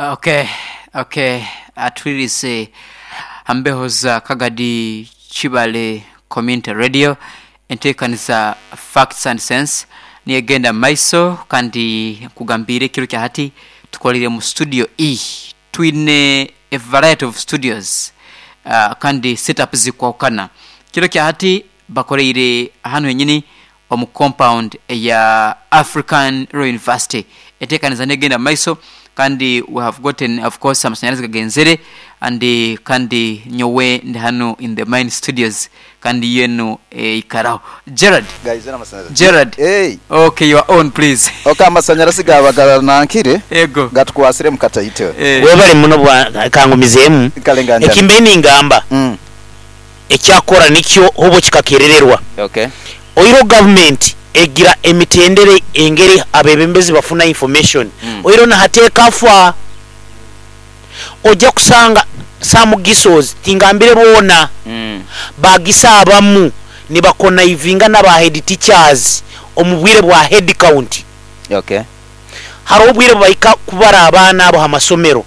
Okay, okay, atwirize ha mbeho za Kagadi Kibale Community Radio enteekaniza Facts and Sense niyo egenda mu maiso kandi nkugambiire ekiro kya hati tukoliire mu studio E. Twine a variety of studios kandi set up zikwahukana. Kiro kya hati bakoleire hanu henyini omu compound eya African Royal University. Enteekaniza n'egenda mu maiso kandi we have gotten of course amasanyarazi gagenzere and kandi nyowe ndi hanu in the main studios kandi yo enu eikaraho. Gerald, Gaizire amasanyarazi. Gerald, Hey. okay you are on please. Ok amasanyarazi gaaba ganankire Ego. gatukwasiremu kataito. Eh. Webale muno bwa kangumizeemu. Kale nga njani. Ekimbaire ningamba. Ekyakora nikyo obo kikakerererwa. Okay. Oihireho gavumenti egira emitendera engeri abebembezi bafuna information oihireho na hati ekafa. Oja kusanga some GISOs tingambire boona, ba GISO abamu nibakonaivinga naba head teachers omu bwire bwa head count. Okay. Haroho obwire bubahika kubara abaana abo ha masomero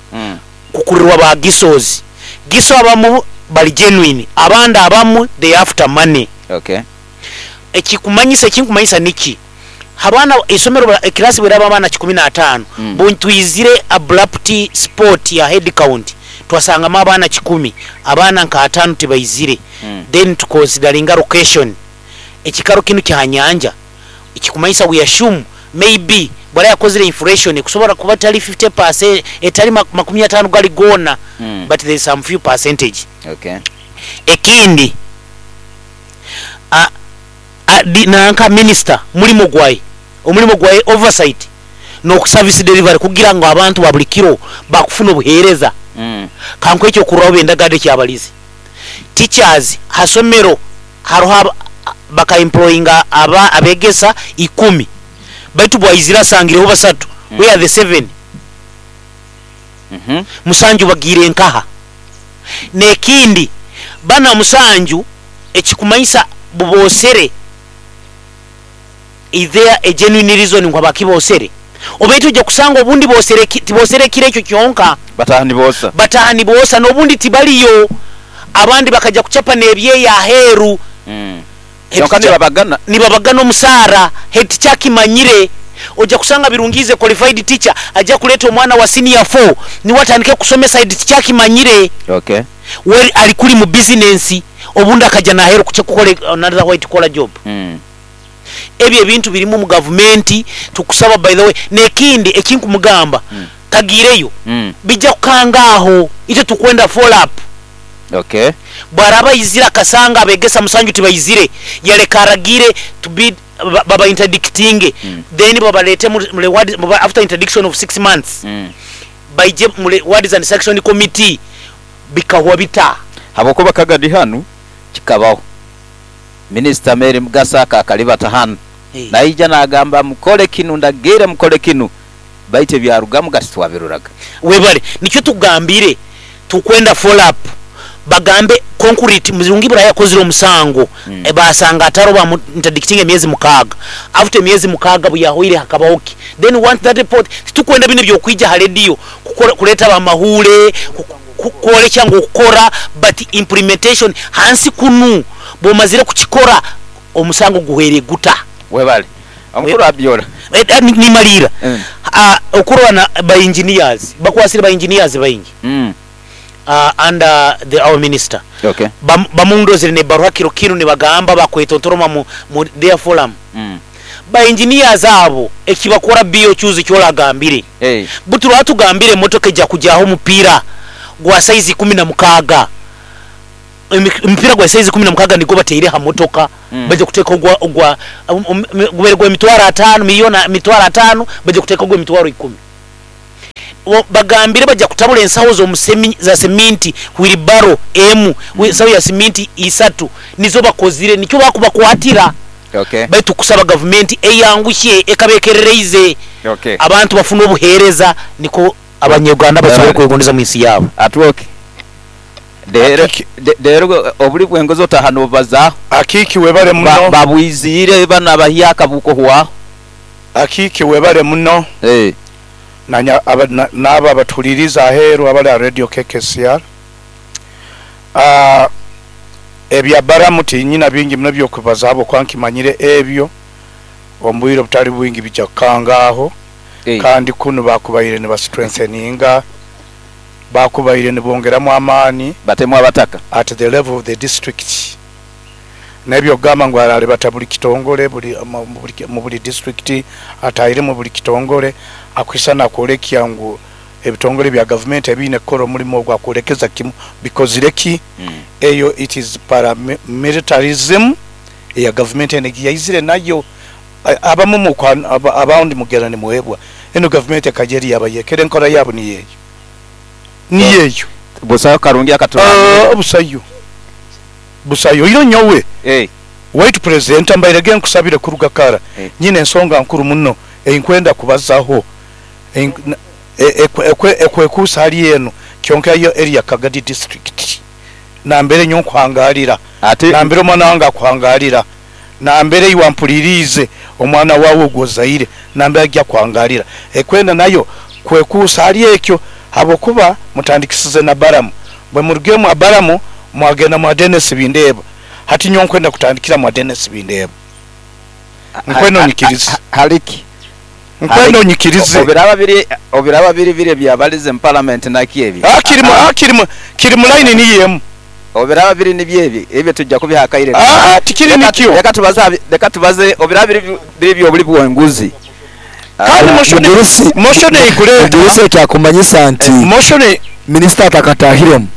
kukurirwa ba GISOs. GISO abamu bari genuine abandi abamu they after money. Okay. Ekikumanyisa ekinkumanyisa niki abaana eisomero eclass bweraba abaana 15 bwetwizire abrupt spot ya head count twasangamu abaana kikumi abaana nka atano tibaizire then tuconsideringa location ekikaro kinu kya nyanja Ekikumanyisa we assume may be bwara yakozire inflation ekusobora kuba etari fifty percent etari makumiataano gari goona but there is some few percentage. Okay. Ekindi a a di nanka minister mulimo gwaye omulimo gwaye oversight noku service delivery kugira ngu abantu ba buri kiro bakufuna obuhereza. Kankuhe ekyokurorraho Bendagade Kyabalizi teachers ha somero Haroho baka employinga abegesa ikumi baitu bwaizire asangireho basatu, where are the seven? Musanju bagiire nkaha? Nekindi banu musanju ekikumanyisa bubosere is there a genuine reason ngu habwaki bosere? Obaitu oija kusanga obundi bosere tibosere ekiro ekyo kyonka. Bataaha niboosa. Bataaha niboosa n'obundi tibaliyo. Abandi bakaja kucapa n'ebyeyo aheeru. Kyonka nibabagana. Nibabagana omusaara. Head teacher akimanyire. Oja kusanga Birungi is a qualified teacher aja kuleeta omwana wa senior four niwe atandike kusomesa head teacher akimanyire. Okay. We ali kuli mu bizinensi obundi akaja n'aheeru kukora another white collar job. Ebyo ebintu birimu omu gavumenti tukusaba by the way nekindi ekinkumugamba tagiireyo bija kukanga aho itwe tukwenda follow up. Okay. Bwaraba aizire akasanga abegesa musanju tibaizire yaleka aragiire to be baba interdictinge then babalete mu reward after interdiction of 6 months baije mu rewards and sanction committee bikahwa bita. Habwokuba Kagadi hanu kikabaho. Minisita Mary Mugasa akakalibata hanu naija nagamba mukole kinu, ndagiire mukole kinu baitu ebyarugamu gati twabiroraga. Webale nikyo tukugambire tukwenda follow up bagambe concrete Murungi buriya yakozire omusango basanga ataro bamu interdictinga emyezi mukaaga after emyezi mukaaga buyahweire hakabaho ki then we want that report titukwenda binu ebyokwija ha radio kukora kureta abamahuure kworekya ngu okukora but implementation hansi kunu bwomazire kukikora omusango guhweire guta. Webale omukuru Abiola. Nimaliira okurora na ba engineers bakwasire ba engineers baingi under the our minister bamundozire nebaruha kiro kinu nibagamba bakwetontoroma mu their forum ba engineers abo ekibakora BOQs ekyoragambire buti rwatugambire emotoka eja kujaho omupira gwa size 16 Omupiira gwa saizi 16 nigwo bataire ha motoka. Baija kuteeka ogwa, ogwa, gubaire gwa emitwaro ataano, miliyooni mitwaro ataano, baija kuteeka ogw'emitwaro ikumi. Bagambire baija kutabura ensaho z'omusemi, za seminti, wheelbarrow emu, ensaho ya seminti isatu nizo bakozire, nikyo bakubakwatira. Baitu kusaba gavumenti eyanguhye ekaba ekerereize abantu bafune obuheereza nikwo Abanyuganda basobole kwegondeza omu nsi yaabo. Atwoke reero obuli bw'engozi otaaha noobubazaaho. Akiiki webale muno. Babwiziire banu abahyaka bukuhwaho. Akiiki webale muno. Nanya n'abo abatuhuliriize aheeru abali ha Radio KKCR. Ebya Baramu tinyina bingi muno by'okubaza habwokuba nkimanyire ebyo omu bwire obutali bwingi bijja kukangaaho. Kandi kunu bakubaire nibastrengtheninga, bakubaire nibongeramu amaani Batemu abataka. at the level of the district. N'ebyokugamba ngu aralibata buli kitongole buli mu buli district, atahiremu buli kitongole, akwisana akwolekya ngu ebitongole bya gavumenti ebiine kukora omulimu ogwo akwolekeza kimu bikozire ki? Eyo it is paramilitarism eya gavumenti enu egiyaizire nayo. Abamu abandi mugenda nimwebwa, enu gavumenti ekaija eri yabayekera enkora yaabo niyo eyo. Niyo eyo. Busaho karungi akaturangire. Busayo. Busayo. Oihireho nyowe, waitu Purezidenti mbairege nkusabire kuruga kara, nyine ensonga nkuru muno ei nkwenda kubazaho ekwekuusa hali enu kyonka yo eri ya Kagadi District nambere nyowe nkuhangalira, nambere omwana wange akuhangalira, nambere iwe ampuliriize omwana wawe ogu ozaire nambere aija kuhangalira. Ekwenda nayo kwekuusa hali ekyo habwokuba mutandikisize na Baramu. Bwe murugire mwa Baramu mwagenda mwa Denis Bindeeba. Hati nyowe nkwenda kutandikira mwa Denis Bindeeba. Nkwenda onyikirize. Haliki? Nkwenda onyikirize. Obiraba biri biri ebyabalize mu parliament naki ebi? Kiri mu line niyo emu. Obiraba biri nibyo ebi, ebyo tujja kubiha akaire. Tikiri nikyo. Leka tubaze, leka tubaze obiraba biri biri by'obuli bw'enguzi. Kandi motion eikuleta. Mugurusi ekyakumanyisa nti minisita atakatahiremu,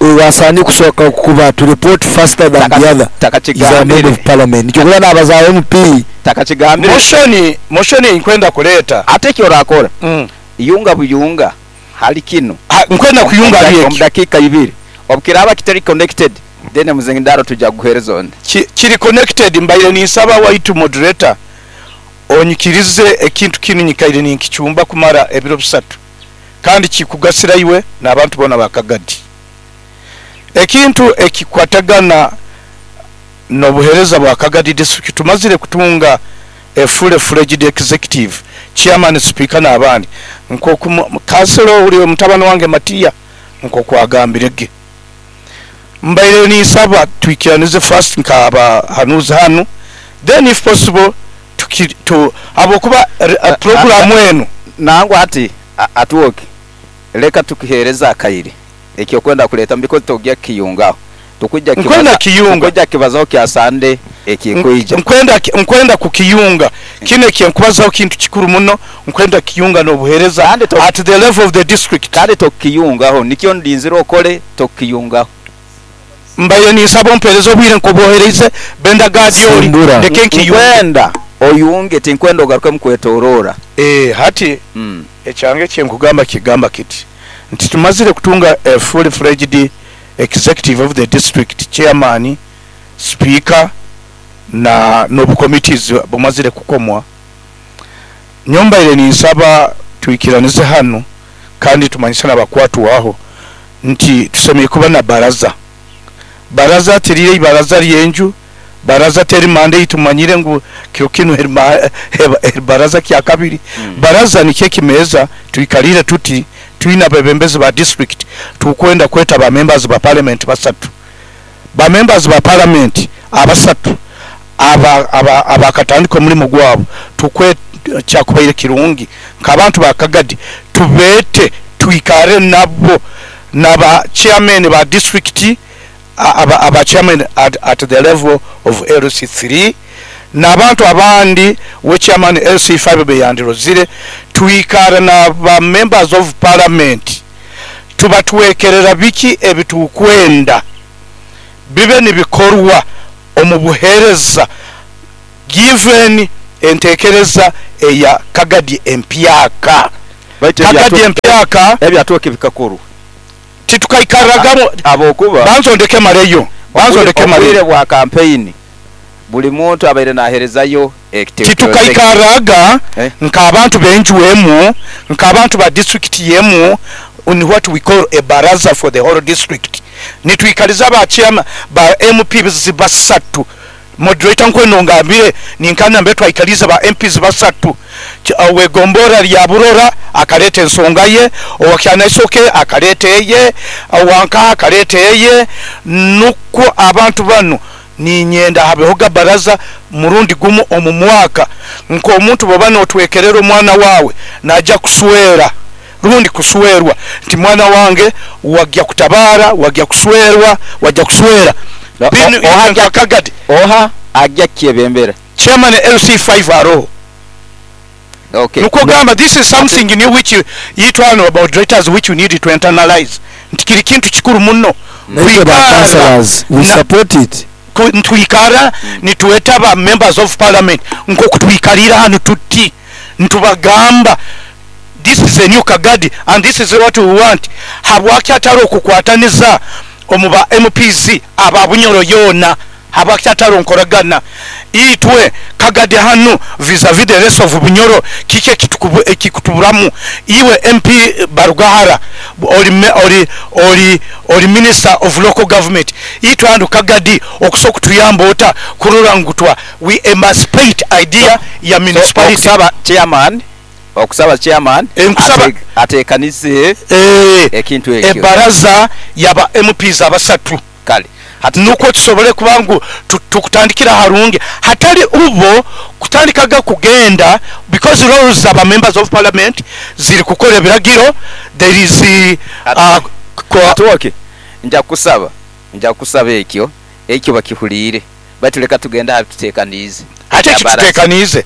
oyo asaani kusooka kuba to report faster than the other is our member of parliament. Nikyo okurora nabaza MP. Takakigambire. Motion einkwenda kuleeta. Ate ekyorakora, yunga buyunga hali kinu. Nkwenda kuyunga hali ekyo. Omu dakiika ibiri. Obukiraaba kitari connected, then omuzindaro tujja kuguheereza ondi. Kiri connected, mbaire ninsaba waitu moderator onyikirize ekintu kinu nyikaire ninkicumba kumara ebiro bisatu kandi kikugasira iwe n'abantu boona ba Kagadi. Ekintu ekikwatagana n'obuheereza bwa Kagadi District, tumazire kutunga a fully fledged executive, chairman, speaker n'abandi nk'oku kanselo ori mutabani wange Matiya nk'oku agambirege. Mbaire ninsaba twikiranize first nk'abahanuzi hanu, then if possible habwokuba puroguramu enu. Nangwa hati Atwoki, leka tukiheereze akaire ekyokwenda kuleetamu because togya kukiyungaho. Nkwenda kiyunga. Tukwija kukibazaho kya Sande ekikwija. Nkwenda kukiyunga. Kinu ekyenkubazaho kintu kikuru muno, nkwenda kukiyunga n'obuheereza at the level of the district. Kandi tokukiyungaho, nikyo ndinzire okole, tokukiyungaho. Mbaire ninsaba ompeereze obwire nk'obwohereize Benda Gadi ori, ndeke nkiyunge. Nkwenda oyunge, tinkwenda ogarukemu kwetoroora. Hati ekyange ekyenkugamba kigamba kiti nti tumazire kutunga a fully fledged executive of the district, chairman, speaker na n'obu committees bumazire kukomwa. Nyowe mbaire ninsaba twikiranize hanu kandi tumanyise n'abakwatwaho nti tusemeriire kuba na baraza. Baraza tiriri ibaraza ry'enju, baraza teri manda ei tumanyire ngu kiro kinu eri baraza kya kabiri. Baraza nikyo ekimeeza twikarire tuti twine abebembezi ba district tukwenda kweta ba members ba parliament basatu. Ba members ba parliament abasatu abakatandika omulimo gwabo kyakubaire kirungi nk'abantu ba Kagadi tubeete twikare nabo naba chairman ba district aba chairman at the level of LC3 n'abantu abandi we chairman LC5 beyandirozire twikara na ba members of parliament tubatwekerera biki ebitukwenda bibe nibikorwa omu buheereza given entekereza eya Kagadi empyaka. Kagadi empyaka ebyatwoka bikakorwa. Titukaikarragamu Habwokuba banza ondeke mareyo. Banza ondeke mareyo. Obwire bwa campaign buli muntu abaire naherezayo ekitekerezo. Titukaikarraga nk'abantu b'enju emu, nk'abantu ba district yemu, in what we call a baraza for the whole district. Nitwikaliza ba chairman ba MPs basatu. Moderator nkweno ngambire ninka nambere twaikaliize ba MPs basatu, ow'egomborra lya Burora akaleeta ensonga ye, owa Kyanaisoke akaleeta eye, owa Nkaha akaleeta eye, nukwo abantu banu ninyenda habehoga baraza murundi gumu omu mwaka. Nk'omuntu bw'oba n'otwekerera omwana waawe naija kuswera rundi kuswerwa nti mwana wange wagya kutabaara, wagya kuswerwa, wagya kuswera. Binu itwe nka Kagadi. Oha agya kukyebembera? Chairman LC5 aroho. Okay. Nukwo gamba this is something new which itwe hano moderators which we need to internalize nti kiri kintu kikuru muno Naitwe ba kwikara councillors we na support it. nitwikara nitweta ba members of parliament nkoku twikalire hanu tuti nitubagamba this is a new Kagadi and this is what we want. Habwaki atari okukwataniza omu ba MPs aba Bunyoro yoona? Habwaki atari nkoragana? Itwe Kagadi hanu vis-a-vis the rest of Bunyoro kiki ekikutuburamu? Iwe MP Barugahara ori minister of local government, itwe hanu Kagadi okusobola kutuyamba ota kurora ngu we emancipate idea ya municipality? Okusaba chairman, okusaba chairman Nkusaba atekanize ekintu ekyo. Ebaraza yaba MPs abasatu. Kale. Hati nukwo tusobole kuba ngu tukutandikira harungi hatari ubo kutandikaga kugenda because roles aba members of parliament ziri kukora ebiragiro there is Atuoke nja kusaba ekyo bakihuliire baitu leka tugenda aha tutekaniize. Ate ekitutekaniize.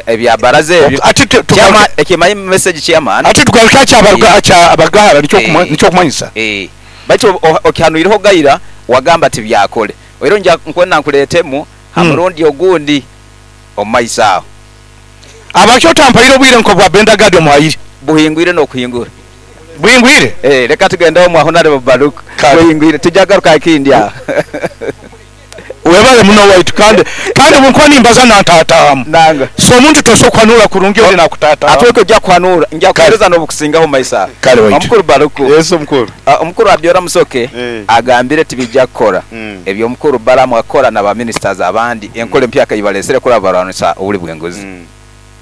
Ebyabaraza ebyo. Ate Ekimanyi message chairman. Ate tugaruka kya Barugahara nikyo kumanyisa. Baitu okihanuireho gaira wagamba tibyakole. Era nja nkwenda nkuleetemu ha murundi ogundi omu maiso aho. Abakyo otampaire obwire nko bwa Benda Gadi omuhaire. Buhingwire n'okuhingura. Buhingwire? Leka tugende omwa Honorable Baruku. Buhingwire tujagaruka ekindi aho. Webale muno waitu kandi bunkuba nimbaza nantatamu. Nanga. So omuntu tosobola kuhanura kurungi oli nakutatamu. Atweke ojja kuhanura, nja kuhereza n'obukusingaho mu maiso aho. Kale waitu. Omukuru Baruku. Yes, omukuru. Omukuru Abiola Musoke agambire tibijja kukora. Ebyo omukuru Balamu akora na ba ministers abandi enkola empyaka yibalesere kuraba barwanisa obuli bw'enguzi.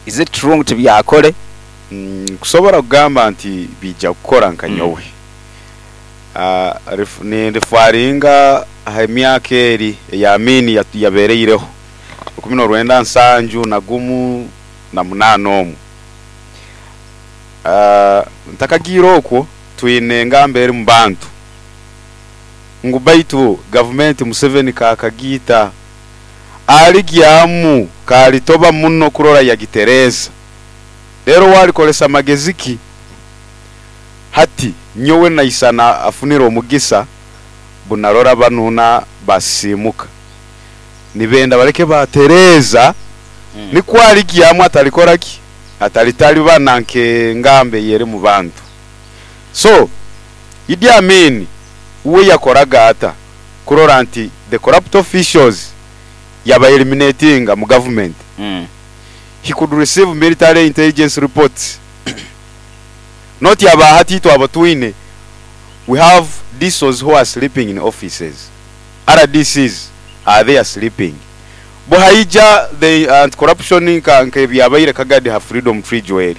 Is it true ngu tibyakore? Nkusobora kugamba nti bijja kukora nka nyowe. Nirifaringa aha emyaka eri eya Amin yabereireho rukumi n'orwenda nsanju na gumu na munaana omwo. Ntakagiire okwo twine engamba eri mu bantu ngu baitu gavumenti Museveni kakagiita aligyamu kalitoba muno kurora yagitereza. Rero walikolesa amagezi ki? Hati nyowe naisana afunire omugisa bunarora banuna basimuka nibenda baleke batereza. Nikwo aligyamu atalikora ki? Atalitali bana nke ngambe yeri mu bantu. So Idi Amin uwe yakoraga ata kurora nti the corrupt officials yaba eliminatinga mu government. He could receive military intelligence reports. Not yaba hati twaba twine. We have DSOs who are sleeping in offices. RDCs are there sleeping. Buhaija the anti-corruption nka byabaire Kagadi ha Freedom Tree Joel.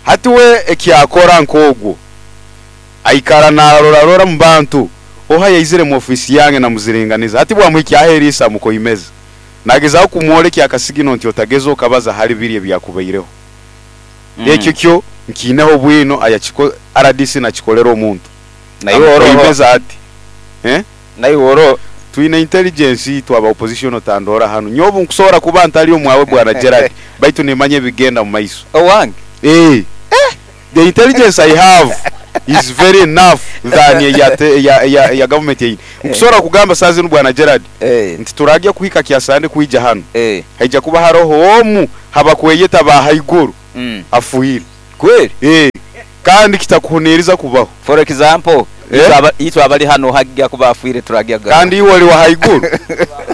Hati we ekyakora nkogwo aikara narora rora mu bantu oha yaizire mu ofisi yange na muziringaniza hati bwamuhikya aherisa mukoimeza nagezaho kumwolekya akasigino nti otagezo okabaza hali biri ebyakubaireho. Ekyo kyo nkineho bwino ayachiko RDC nakikolera omuntu Naye oro Amukoimeza ati Naye oro twine intelligence twaba opposition otandora hano nyobu nkusobola kuba ntali omwawe bwana Gerard baitu nimanye bigenda mu maiso. Owange. The intelligence I have is very enough than ya government yeyi. Nkusobola kugamba sazi bwana Gerard nti turajya kuhika kyasande kuija hano. Haija kuba haroho omu habakweyeta ba haiguru. Afuhire. Kweli? Kandi kitakuhuniriza kubaho. For example, itwa abali hano hajya kuba afuire turajya Kandi iwe oli wa haiguru.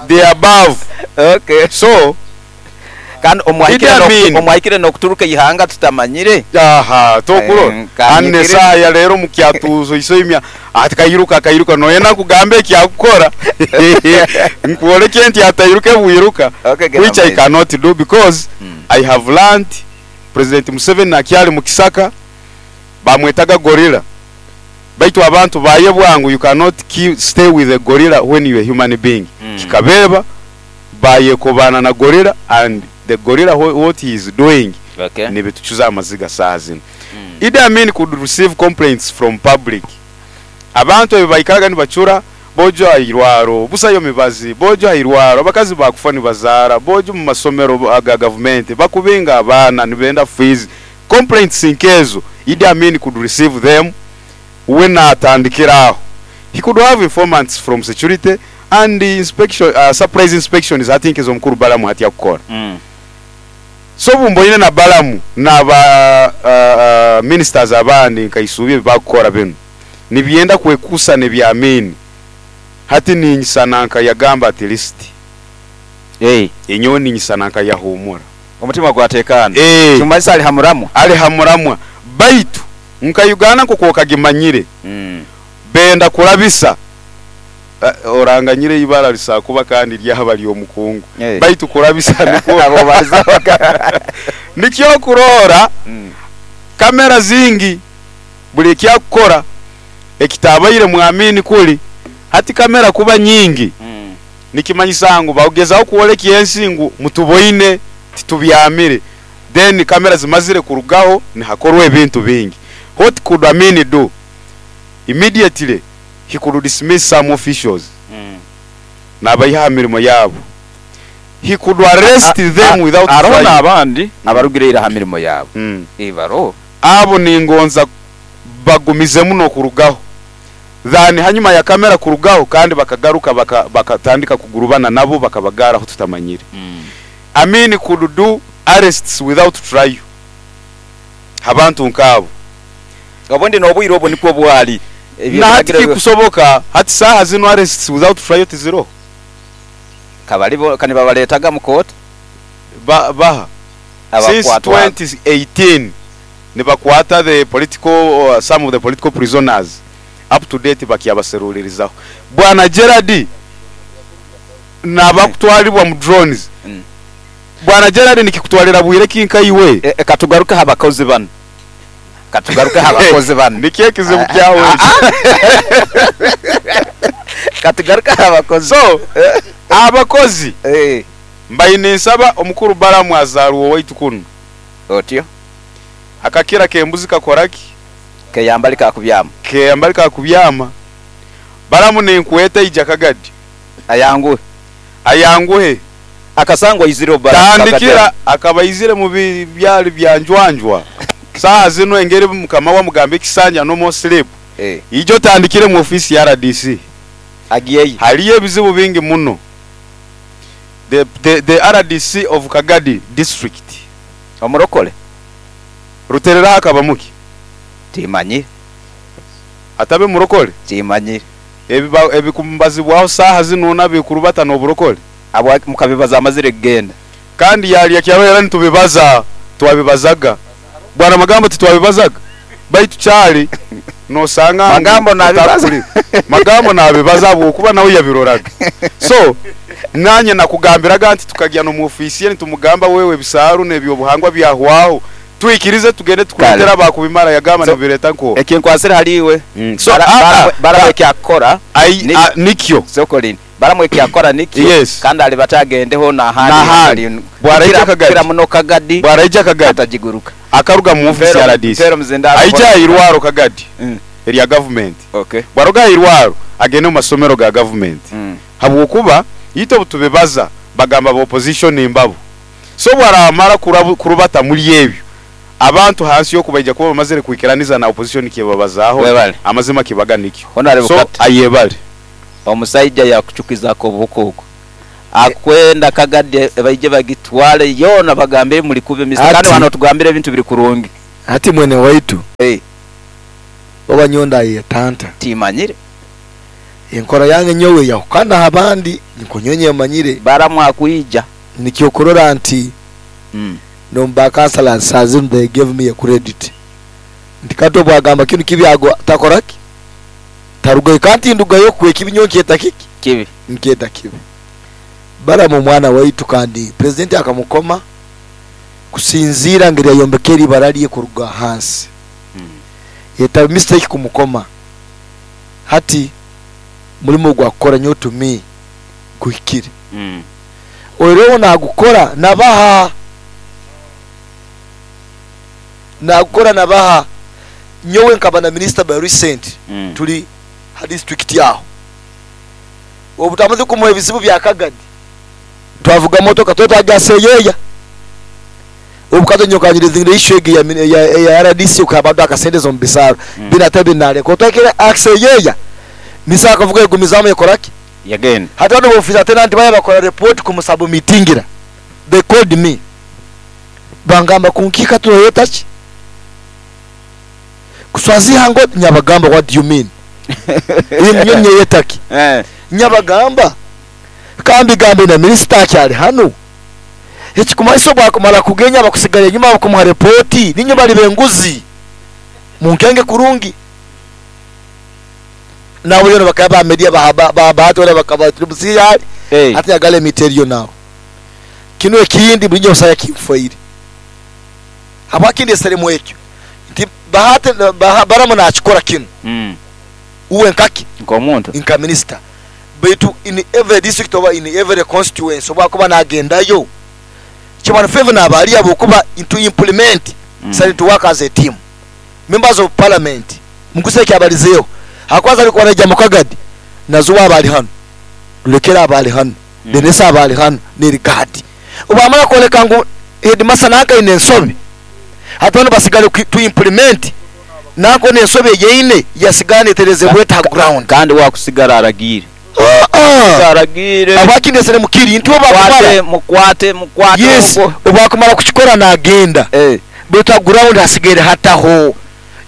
They above. Okay. So Kandi Idi Amin. omwahikire n'okuturuka eihanga tutamanyire. Aha, tokurora Kanyikire. Hanu esaaha ya leero mukyatuuzo isoimya ati kairuka akairuka noyenda nkugambe ekyakukora nkwoleke nti atairuke bwiruka. Okay, genda Which I maiso. cannot do because I have learnt President Museveni akyali mu kisaka bamwetaga gorilla, baitu abantu bayebwa ngu you cannot stay with a gorilla when you are a human being. Kikabeeba bayekobana na gorilla and the gorilla what he is doing nibitucuza amaziga saaha zinu. Idi Amin could receive complaints from public. Abantu ebi baikaraga nibacura bojo airwaro, busayo mibazi, bojo airwaro, abakazi bakufa nibazaara, bojo mu masomero aga government, bakubinga abaana nibenda fees. Complaints nkezo, Idi Amin could receive them when atandikira aho. He could have informants from security and the inspection, surprise inspections I think ez'omukuru Balamu hati yakukora. So bumboine na Balamu n'aba ministers abandi nkaisubye ebibakukora binu nibyenda kwekusa nebya Amin. Hati ninyisana nka yagamba at least. Enyowe ninyisana nka yahumura. Omutima gwatekana. Tumanyisa ali hamuramwa. Ali hamuramwa. Baitu nka Uganda nk'oku okagimanyire. Benda kurabisa. Oranganyire ibara lisakuba kandi lyaba ly'omukungu. Baitu kurabisa nikwo Abo bazoka. Nikyo kurora kamera zingi buli ekyakukora ekitabaire mwamini kuli hati kamera kuba nyingi. Nikimanyisa ngu bagezaho kwoleka ensi ngu mutuboine titubyamire, then kamera zimazire kurugaho nihakorwa ebintu bingi. What could Amin do? Immediately he could dismiss some officials. Nabayiha mirimo yabo. He could arrest them without Aroho trial. n'abandi abarugireira ha mirimo yabo. Ibaro. Abo ningonza bagumize muno kurugaho. Then hanyuma ya kamera kurugaho kandi bakagaruka bakatandika kugurubana nabo bakabagara aho tutamanyire. Amin could do arrests without trial. Abantu nkabo. Obundi n'obwire obwo nikwo bwali. Ebyo Na hati biragira kikusoboka, hati saha zino arrests without trial tiziro. Kabali bo kani babaletaga mu court? Baha. Since Abakwatwa. 2018 nibakwata the political, some of the political prisoners up to date bakiabaserulirizaho. Bwana Gerard nabakutwalibwa mu drones. Bwana Gerard nikikutwalira bwire kinka iwe. Katugaruke abakozi bano. Katugaruke abakozi bano. Nikiye kizibu kyawe. Katugaruke abakozi. So, abakozi. Mbaine nsaba omukuru Balamu azarwo waitu kuno. Otyo. Akakira kembuzi kakoraki? Keyambali kakubyama. Keyambali kakubyama. Balamu nenkweta ija Kagadi. Ayanguhe. Ayanguhe. Akasangwa izire Balamu. Tandikira akabaizire mu byali byanjwanjwa. Saa zino engeri mukama wa mugambe ekisanja no more sleep. Ijo tandikire mu office ya RDC. Agiyeyo. Haliyo ebizibu bingi muno. The RDC of Kagadi district. Omurokole. Ruterera akabamuki. Timanyire. Atabe murokole? Timanyire. Ebikumbazibwaho saha zino nabikurubata n'oburokole. Abo mukabibaza amazire kugenda. Kandi yali yakyabera nitubibaza, twabibazaga. Bwana Magambo titwabibazaga. Baitu cyali nosanga Magambo nabibaza. Magambo nabibaza bwokuba nawe yabiroraga. So nanye nakugambiraga nti tukajya no mu office ye nitumugamba wewe bisaru nebyo buhangwa byahwaho. Tuikirize tugende tukuletera bakubimara yagamba So, nibireta nko. Ekinkwasira haliwe. So, Bara ekyakora, nikyo. Sokolini. Baramwe ekyakora nikyo. Yes. Kandi ali batagendeho na handi. Nahandi. Hali- Bwaraija Kagadi. Kira muno Kagadi. Bwaraija Kagadi. Atajiguruka. Akaruga mu office ya RDC. Mpero mzindaro. Aija irwaro Kagadi. Erya government. Bwaruga irwaro agende mu masomero ga government. Habwokuba yito butubebaza bagamba ba opposition imbabo. So bwaramara kurubata muri ebyo. Abantu hansi yo kubaija kuba bamazire kuikiraniza na opposition kibabazaho. Webale. Amazima kibaga nikyo. Honorable So, Kat. ayebale. Omusaija yakuchukizako obuhuko. Akwenda Kagadi baije bagitwale yona bagambe muri kube misa. Ati. Kandi wano tugambire ebintu biri kurungi. Ati mwene waitu. Oba nyonda ye tanta. Timanyire. Enkora yange nyowe yahukana abandi niko nyonye manyire. Baramwa kuija. Nikyo kurora nti Nomba councillors sazinu they gave me a credit nti Kato bwagamba kinu kibi ago takoraki tarugayo kandi ndugayo kwe kibi nyo nkyeta kiki Kibi. Nkyeta kibi. Balamu omwana waitu kandi president akamukoma kusinziira ngeri yayombekera ibara lye kuruga hansi. Yetaba mistake kumukoma. Hati mulimo gwa kukora nyo to me guhikire. Oireho nagukora nabaha nagukora nabaha nyowe nkaba na minister by recent. Tuli ha district yaho obutamaze kumuha ebizibu bya Kagadi twavuga motoka twetwajaseyeya obukazo nyokanyiriza issue egi ya RDC ukabado akasente mu bisaro. Binate binaleko twakira akseyeya misa akavuga egumizamu ekoraki Yagenda. Hata bano officer tenant baya bakora report kumusabu mitingira they called me bangamba kunkika tuyoyeta ki kuswaziha ngo nyabagamba what do you mean? Imwe yetaki nyabagamba kambi gambe na minister akyali hano ekikumaiso bwakumala kugenya bakusigala enyuma bakumuha report ninyo bali benguzi munkenge kurungi nawe yono bakaba media bahaba bakaba tribusiya ati agale miterio nawo kino ekindi bulinyo osaya kimfoire abakindi seremo ekyo nti bahate baramu nakikora kino. Uwe nkaki nkomuntu nka minister betu in every district oba in every constituency oba kuba nagendayo chimana favor na abali abo kuba into implement. Sali to work as a team members of parliament muguse kyabalizeyo hakwaza alikuwa naija mukagadi nazuwa abali hano lulekera abali hano. Denesa abali hano nerigadi obamala koleka ngu headmaster naka ine ensobi hata bano basigale to implement nako nensobi yeine yasigane tereze bweta ground kandi wakusigara aragire aragire abakindesere mukiri nti obakumara mukwate mukwate. Yes, obakumara kukikora nagenda bweta ground hasigere hataho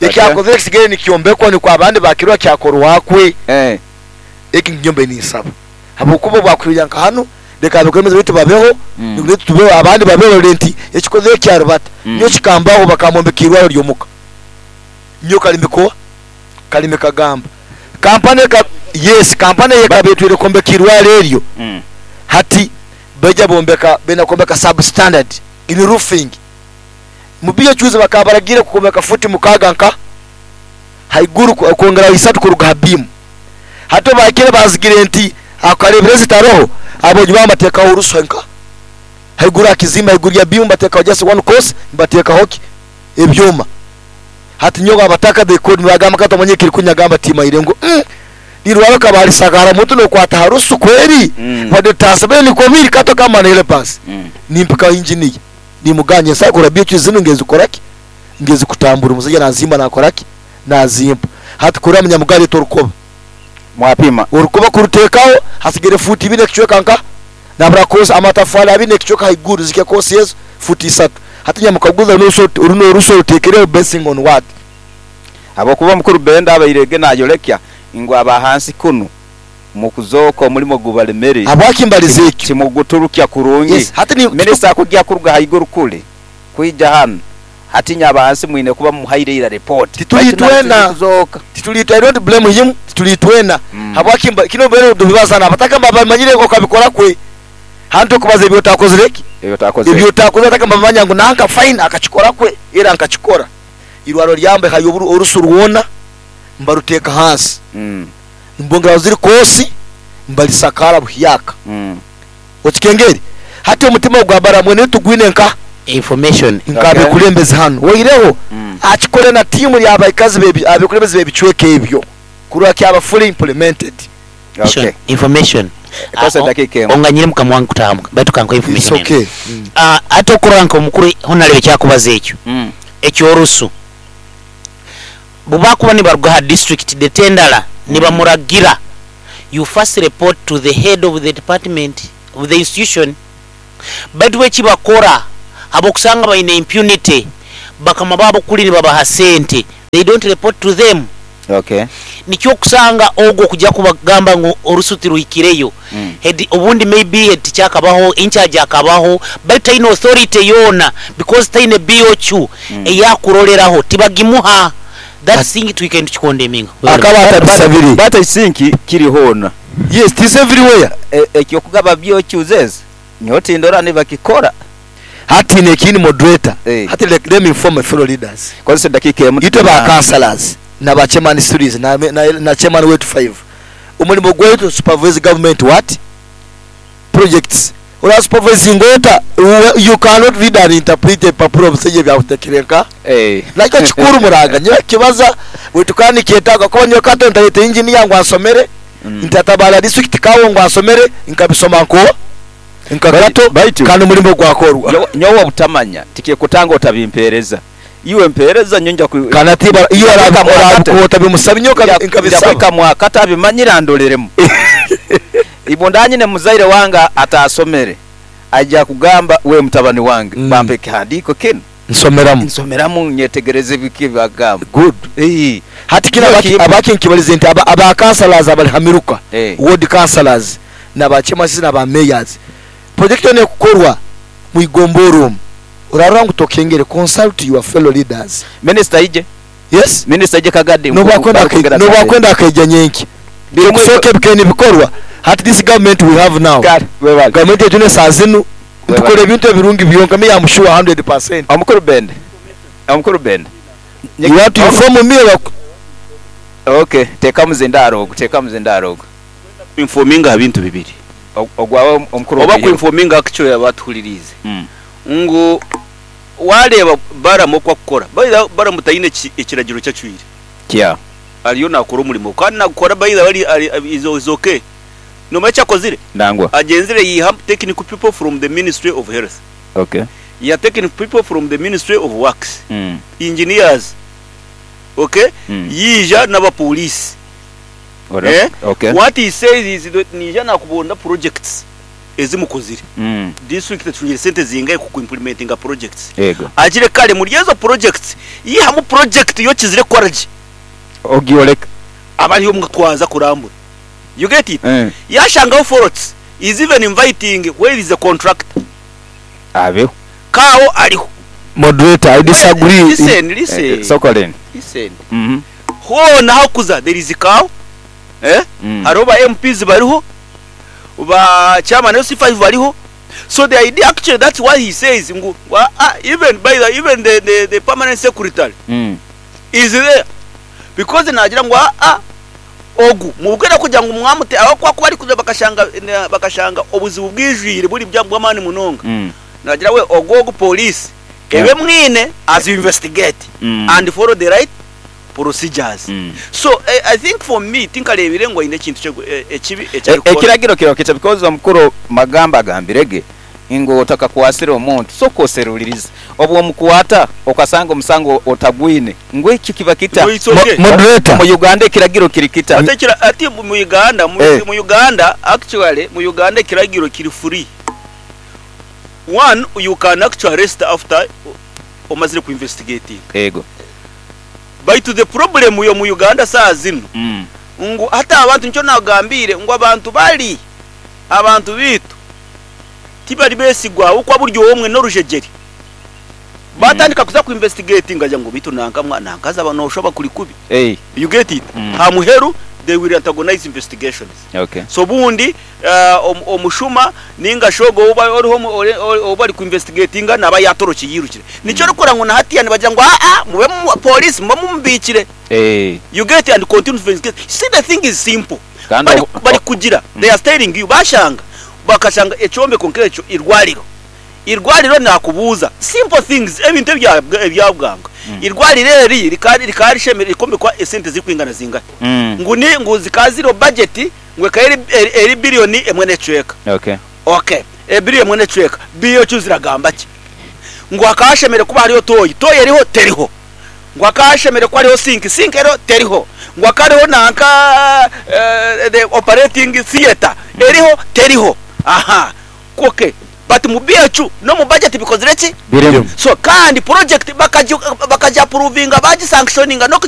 ekyakoze kisigere nikyombekwa ni kwa abandi bakirwa kyakorwakwe eki nyombe ni nsaba habukubo bwakwirya nka hano reka abakomeze bitu babeho nigure tubeho abandi babeho renti ekikoze kyarubata nyo kikambaho bakamombekirwa ryomuka nyo kalimiko kalime kagamba kampane ka yes kampane yekabetwire kombekirwa reryo. Hati beja bombeka bena kombeka substandard in roofing mubiyo chuze bakabaragire kukombeka futi mukaga nka haiguru kongera isatu kuruga bimu hato bakire bazigire nti akarebrezi taroho abo nyuma bateka uruswa nka haiguru akizima haiguru ya bimu bateka just one course bateka hoki ebyuma hati nyoga abataka they code bagamba kato manye kiri kunyagamba tima irengo nirwaro kabali sagara mutu no kwata harusu kweri. Bade tasabe ni komiri kato kama na ile pass. Nimpika engineer nimuganye sakura biyo zinu ngezi koraki ngezi kutambura umusajja nazimba nakoraki nazimba hati kura munyamugari torukoba mwapima urukoba kurutekaho hasigere futi bine kichweka nka nabra kosa amatafali abine kichweka haiguru zike kosi yezo futi isatu hati nyamukaguza nuso uruno ruso rutekereho basing on what abokuba mukuru benda abairege nayorekya ngo abahansi kuno mukuzoko omulimo gubalemere abwakimbalize ekyo timuguturukya kurungi. Yes, hati ni minister akujja kuruga haiguru kule kuija hano hati nyabahansi mwine kuba muhaire ira report titulitwena titulitwa I don't blame him titulitwena. Habwakimba kino bero dubibaza abataka bamanyire ko kabikora kwe hanto kubaza ebyo takozereki ebyo takoze ebyo takoze ataka bamanya ngo nanka fine akachikora kwe era nkachikora irwaro lyambe hayoburu orusu ruwona mbaruteka hansi. Mbongera ziri kosi mbalisakara buhyaka. Okikengeri hati omutima gwa baramwe tugwine nka information nkabe kulembeza hano waireho. Akikore na timu y'abaikazi bebi abikulembeza bebichweke ebyo kurwa kyaba fully implemented. Okay. Information Kosa dakika emu. Onganyire mukamwangu kutamuka baitu kanko information. It's okay. Ate okuranka omukuru honalebe kyakubaza ekyo. Ekyorusu bubakuba nibaruga ha district detendala nibamuragira you first report to the head of the department of the institution baitu ekibakora abokusanga baine impunity bakama babo kuli nibabaha sente they don't report to them. Okay. Nikyo okusanga ogwo kujya kubagamba ngu orusu tiruhikireyo. Head, obundi maybe head teacher akabaho, in charge akabaho, but taine authority yona because taine BOQ eyakuroleraho tibagimuha. That thing twike ntukikondeminga. Akaba atabisabire. But I think kiri hona. Yes, it is everywhere. Ekyokugaba BOQs nyowe tindora nibakikora. Hati nekindi moderator. Eh. Hati let me inform my fellow leaders. Kozesa edakika emu. Itwe ba councillors na ba chairman series na chairman wetu 5. Omulimo gwaitu supervise government what? Projects. Ora supervising ota, you cannot read and interpret a paper of sije bya kutekereka. Nakyo kikuru muraga nyo kibaza wetukani kietaga ko nyo kato ntalete engineer ngo asomere. Ntatabala district kawo ngo asomere nkabisoma nko nkakato kandi mulimo gwakorwa. Nyowe obutamanya tikekutanga otabimpereza. Iwe mpereza nyonja ku kanatiba iyo arabukota bimusaba nyoka nkabisaba kamwa katabimanyira ndoleremu. Ibondanye ne muzaire wanga atasomere ajja kugamba we mutabani wange bampe kihandiko kino nsomeramu nsomeramu nyetegereze biki bagamba. Good. Hati kina abaki nkibalize nti aba councillors abali hamiruka ward councillors na ba chairmen na ba mayors project ne kukorwa mu igomboro urarora ngo tokengere consult your fellow leaders. Minister ije. Yes, minister ije kagade no bakwenda akaija nyenki bikusoke bikeni bikorwa. Hati this government we have now government yetune sazinu tukole ebintu ebirungi byonka me am sure 100%. Omukuru Bende you want to inform me? Okay, teka muzindaro teka muzindaro informinga bintu bibiri ogwawe omukuru oba ku informinga actually abatuhulirize ngo wareba baramo kwa kukora baramu tayine ekiragiro cyacwire kya ariyo nakora umurimo kandi nakora bayira bari is okay no macha kozire ndangwa agenzire yiha technical people from the Ministry of Health. Okay, ya technical people from the Ministry of Works. Engineers. Okay, yija n'aba police. Okay, what he says is that nija nakubonda projects ezimukozire district tunyire sente zingaye ku implementing projects. Yego agire kale muri ezo projects yihamu project yo kizire korage ogioleka abari mutwaza kurambura. You get it? Yashangaho forts is even inviting where is the contractor abeho kawo ariho. Moderator, I disagree. Listen. Sokolen. Listen. Ho naho kuza there is cow. Hariho ba MPs bariho ba chairman LC5 bariho. So the idea actually that's why he says ngu even by the even the permanent secretary is there because nagira ngo ogu mubwira kugira ngo mwamute aho kwa kuba ari kuza bakashanga obuzibu bwijwire buri bwamani munonga. Nagira we ogogo police ebe mwine as you investigate and follow the right procedures. So I think for me tinkarebire ngo ine kintu ekibi ekiragiro kiro kita because omukuru magamba gambirege ngo otaka kuwasira omuntu so koseruliriza obwo mukwata okasanga omusango otagwine ngo iki kiba kita moderator mu Uganda ekiragiro kiri kita ati mu Uganda mu Uganda actually mu Uganda ekiragiro kiri free. One, you can actually arrest after omazire ku investigating. Ego but the problem yo mu Uganda saa zino ngo hata abantu nicyo nagambire ngo abantu bali abantu bitu tibari besigwa uko buryo omwe no rujegeri batandika kuza ku investigating ngaja ngo bitu nanka mwana nankaza abantu oshoba kuri kubi. You get it? Ha muheru they will antagonize investigations. Okay. So bundi omushuma ninga shogo uba oriho oba ari ku investigatinga naba yatoroki yirukire nicyo rukora ngo nahatiya nibagira ngo mube police mube mumbikire. You get it and continue to investigate. See, the thing is simple. Bari kugira they are telling you bashanga bakashanga echombe konkecho irwaliro irwaliro nakubuza simple things ebintu ebyabwanga irwaliro eri rikari shemere ikombe kwa esente zikwingana zingahe nguni nguzi kaziro budget ngwe kaeri eri billion emwe necweka. Okay, e billion emwe necweka biyo cyuziragamba ki ngo akashemere kuba hariyo toyi toyi eriho teriho ngo akashemere ko hariho sink ero teriho ngo akariho nanka the operating theater eriho teriho. Aha, okay, but mu BHU no mu budget bikozire ki? So kandi project bakaja approvinga baji sanctioninga no